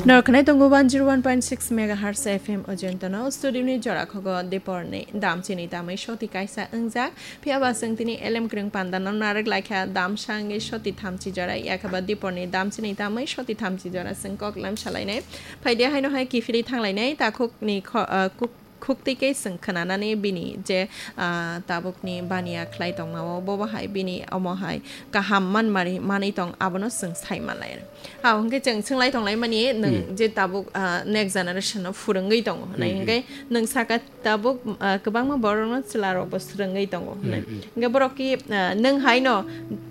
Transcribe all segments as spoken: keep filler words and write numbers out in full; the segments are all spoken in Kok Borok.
Norok khwnai tongo one zero one point six megahertz F M Ojontano, studio ni jora khogo Diporni damchini tamwi soti kaisa wngjak. Phiya ba chwng tini elem kwrwng pandano narwk laikha, damsa wngwi soti thamchi jora, yakhaba Diporni damchini tamwi soti thamchi jora chwng kok lam salainai. Phaidi haino hai kiphilwi thanglainai, takhukni kho-, ah, kuk-, khuktwi khe chwng khwnanani bini je, ah, tabukni baniya khlai tongmao, bobo hai bini omo hai kaham manmari manwi tong, abono chwng sai manlai. Ha, hwnkhe chwng swnglaitonglaimani nwng Hmm. je tabuk, ah, next generation no phwrwngwi tongo hwnwi. Hmm, hmm. Hwnkhe nwng saka tabuk, ah, kwbangma borokno chwlarokbo swrwngwi tongo hwnwi. Hmm, hmm. Hwnkhe borok ki, ah, nwng haino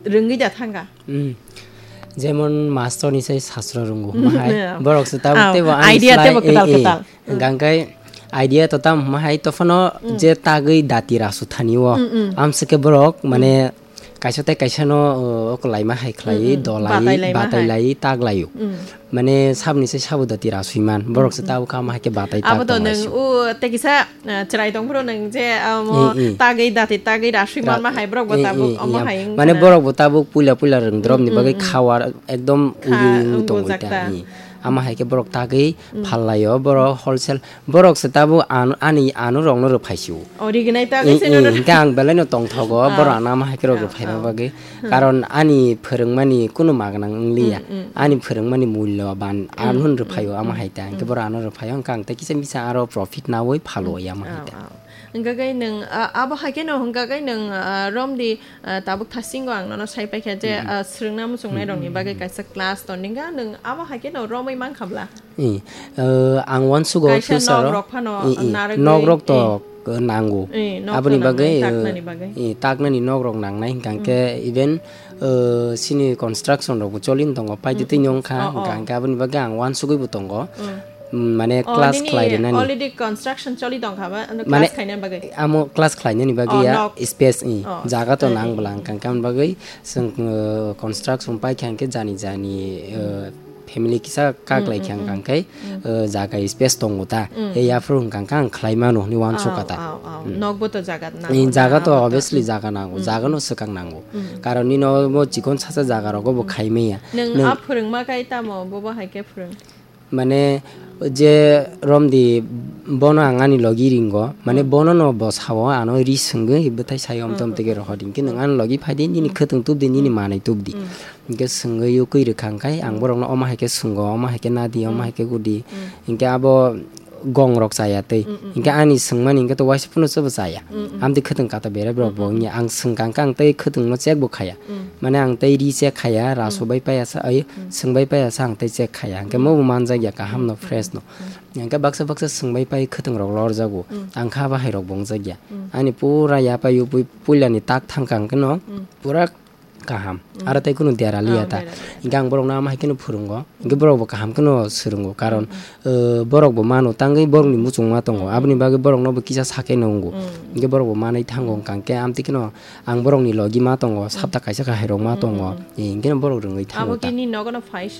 rwngwi da thangkha? Hmm. Jemon mastor ni sai sasro rwngo, mahai. Yeah. Borok se tabuk Oh, teibo ani idea slai, teibo kwtal eh, eh. Kwtal. Hmm. Hwnkhe idea to tam mahai to phano Hmm. je tagwi dati rasu thani o. Hmm, hmm. Amsike borok, Hmm. mane, kaisa tei kaisa no, uh, o kwlaima hai khlaiwi, Mm, mm. dolaiwi, Batailaima hai. Batailawi taglaio. Mm. Mane sabni se sabo dati rasui man. Borok se Mm, mm. Tabuk kha ma hai khe batai Abo tag to tong nwng laisio. O tei kisa, uh, chwrai tong phuru nwng je, um, Eh, eh. Tagwi dati tagwi rasui Ra-, man ma hai borok bo eh, tabuk eh, omo eh, hai wng mane khana. Borok bo tabuk puila puila rwng drop ni Mm, bagwi mm, mm. Kha war ekdom Kha uri uri wng tong bujak ta. Eh. Ama hai khe borok tagwi Mm. Phallaio, borok wholesale Borok se tabuk ano, ani ano rokno rwphai sio. O, rignai ta Eh, khe se eh, nono. Hingke ang belai no tongthogo, Ah. Borok ano ama hai khe rok Ah, rwphaima ah. Bagwi. Hmm. Karon ani phwrwngmani kunu magna wngliya. Hmm, hmm, Ani hmm. Phwrwngmani mullo ban Hmm, ano hmm, rwphaio ama hmm, hai ta. Hingke hmm. Borok ano rwphaio, hingke ang tei kisa misa aro profit nawi phalo Hmm. Ya ama hai Ah, ta. Ah. Hingke kai nwng, ah, abo hai khe no hingke kai nwng, ah, romdi Ah, tabuk thasingo ang nono sai paikha je, Mm, mm. Ah, swrwngna muchungnai rokni Mm, mm, bagwi mm. Kaisa class tongdingkha, nwng abo hai kheno romwi mankha bla? Eh, eh, ang uansugo Kaisa future o. Nok rok phano Eh, eh. Narwgwi, Nok rok to, eh. Eh, nango. Eh, nok Aboni to nangnai, bagwi, eh, taknani bagwi. Eh, taknani nok rok nangnai hwnkha Mm. Khe even, eh, sini construction rok bo cholin tongo, paidi Mm, twi mm. Wngkha, Oh, oh. Hwnkha khe aboni bagwi ang uansugwi bo tongo. Mm. Mm, mane Oh, class nini khlai rinani. Already construction choli tongkha ba? Ano Mane class khaina bagwi? Amo class khlainani bagwi Oh, ya nok. Space, i, Oh, jaga to eh, nang eh, bwla eh. Hwnkha khe aboni bagwi chwng, uh, construction paikha hwnkhe jani jani, uh, family kisa kaklai Mm, kha mm, hwnkha mm. Khe, Mm. Uh, jaga space tongo ta. Mm. He yaphuru hwnkha khe ang khlai mano hwnwi uansukha ta. Aw, aw, aw. Mm. Nokbo to jaga nango Eh, na, jaga to abo to, obviously mm. Jaga nango, Mm. Jagano swkang nango. Mm. Karon nini omo chikon sacha jaga rogo bo Mm. Khai maya. Nwng Nwng a phwrwngma kai tamo, bobo hai khe phwrwng? Mane je romdi bono ang ani logi ringo, mane Hmm. Bono no bo sao ano ri swngwi bwthai sayo om tom Hmm. Tege rohor hinkhe nwng ani logi phaidi nini Hmm. Khwtwng tubdi nini Hmm. Manwi tubdi. Hmm. Hinkhe swngwi ukui rwkha hwnkhe ang Hmm. Borokno omo hai khe swnggo, omo hai khe nadi, omo Hmm. Hai khe gudi. Hmm. Hinkhe abo gong rok chaya tei. Hmm, hmm, Hinkhe hmm. Ani swngmani hinkhe to waisa phano chwbo chaya. Hmm, hmm. Amtwi khwtwng kata bere borok Hmm, bo hmm. Wngya ang swngkha hwnkhe ang tei khwtwngno chekbo khaya. Hmm. Mane ang tei ri chek khaya, rasu Hmm. Bai paya sa, ai Hmm. Swng bai paya sa ang tei chek khaya. Hwnkhe Hmm. Mobo manjak ya kaham no Hmm. Fresh no. Hmm. Hwnkhe baksa baksa swng bai pai khwtwng rok lorjago. Hmm. Ang kha bahai rok bo wngjak ya. Hmm. Ani pura yapai yupui puila ni tak thangkha hwnkhe no Hmm. Pura kaham. Hmm. Aro tei kunu dera liya Ah, ta. Dera liya. Hwnkhe ang borok no ama hai kheno phwrwngo. Hwnkhe borok bo kaham kheno swrwngo. Karon Hmm. Uh, borok bo mano tangwi borokni muchungma tongo. Mm. Aboni bagwi borokno bo kisa sakhe nungo. Mm. Hinkhe borok bo manwi thango Mm. Hwnkha khe amtwi kheno ang borokni logi ma tongo, Mm. Sapta kaisa kahai rok ma Mm, tongo. Mm, mm. Eh, hinkhe borok rwngwi thango Abo ta. Kini nogono phai se.